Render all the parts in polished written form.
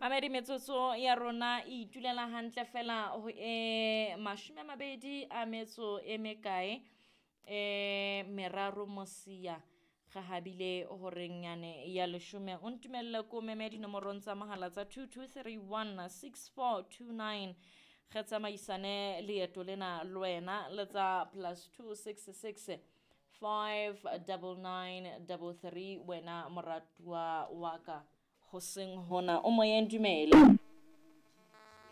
Mamedi, metsotso ya rona e itulela hantle fela ho e 20 a metso e mekae e meraro mosia re habile horeng yane ya leshome. O ntumelle ko meme dinomorong tsa mohala tsa 22316429, re tsamaisane leeto lena le wena, le tsa +266 59933. Wena moratuwa wa ka, hoseng hona o moyeng, dumele.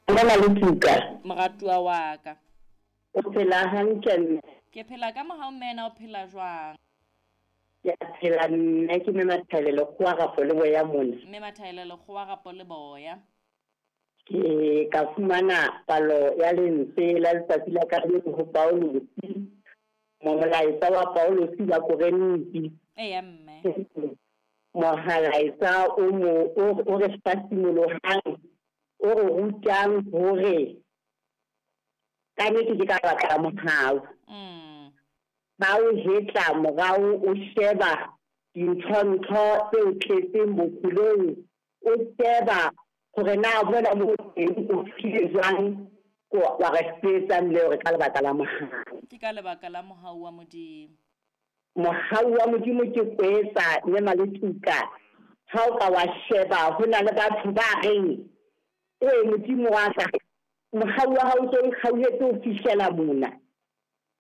Dumela le Tuka. Moratuwa wa ka. O phela hantle, mme? Ke phela ka mohau, mme. O phela jwang? Ke a phela, mme. Ke mme Mathaele Lekgowa Rapo le Boya mona. Mme Mathaele Lekgowa Rapo le Boya. Ke ka fumana palo ya lentswe la letsatsi la kajeno ho Paulusi, molaetsa wa Paulusi ba Korinthe. Eya, mme. Mohalaetsa o mo o re hlasimollohang, o re rutang hore ka nnete ke ka baka la mohau. Ba o hetla morao, o sheba dintho-ntho tse o tletseng bophelong, o sheba hore na mona mo teng o fihlile jwang, wa re fetsa mme hore ka lebaka la mohau. Ke ka lebaka la mohau wa Modimo. Mohau wa Modimo ke kwetsa mme Maletuka. Ha o ka wa sheba, ho na le batho ba reng, "Oe Modimo wa ka, mohau wa hao o ntso o nkgauhetse ho fihlela mona."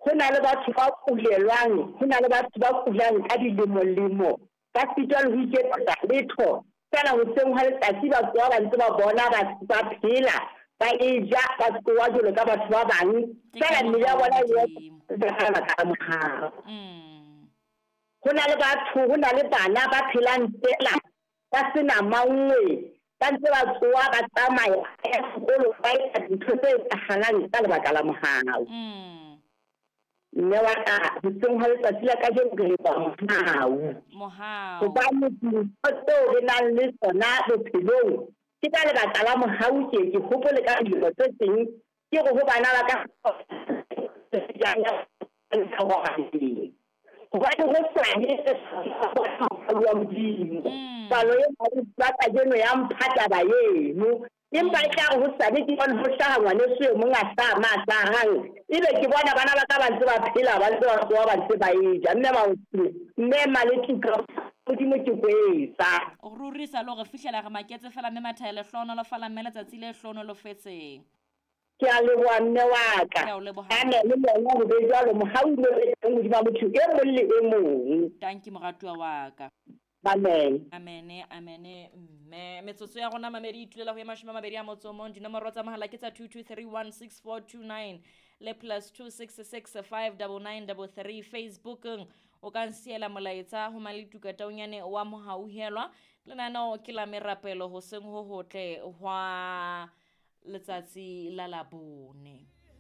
Ho na le batho ba kulelwang, ho na le batho ba kulang ka dilemo-lemo, ba sitwa le ho iketsetsa letho. Feela hoseng hwa letsatsi ba tsoha ba ntse ba bona ba ba phela, ba e ja, ba tsoha jwalo ka batho ba bang. Ke ka Feela mmele ya mohau wa bona e Modimo. ka lebaka la mohau. Ho na le batho, ho na le bana ba phelang feela ba sena mangwe, ba ntse ba tsoha, ba tsamaya, ba ya sekolo, ba etsa dintho tse etsahalang ka lebaka la mohau. Mme wa ka, hoseng hwa letsatsi la kajeno re leboha mohau. Mohau. Hobane dintho tseo re nang le tsona bophelong ke ka lebaka la mohau. Ke ke hopole ka dilemo tse teng, ke re ho bana ba ka, hobane ho sane mohau wa Modimo. Palo e ba kajeno ya mpha taba eno, empa e tla re ho sane ke bone ho hlaha ngwaneso e mong a hlaha ma hlahang, ebe ke bona bana ba ka ba ntse ba phela, ba ntse ba tsoha, ba ntse ba e ja. Mme mme Maletuka, Modimo ke kwetsa. O ruri sa le hore fihlela re maketse fela, mme Mathaele. Hlohonolofala, mme, letsatsi le hlohonolofetseng. Ke a leboha, mme wa ka. Ke a o leboha. Amen, le lona ho be jwalo, mohau o be teng hodima motho e mong le e mong. Tanki, moratuwa wa ka. Amen. Amene, amene, mme. Metsotso ya rona, mamedi, itulela ho ye 21. Dinomoro tsa mohala ke tsa 22316429 le +266 59933. Facebookeng o ka nsiela molaetsa ho Maletuka Taunyane wa Mohauhelwa. Lenaneo ke la merapelo, hoseng ho hotle hwa letsatsi la Labone.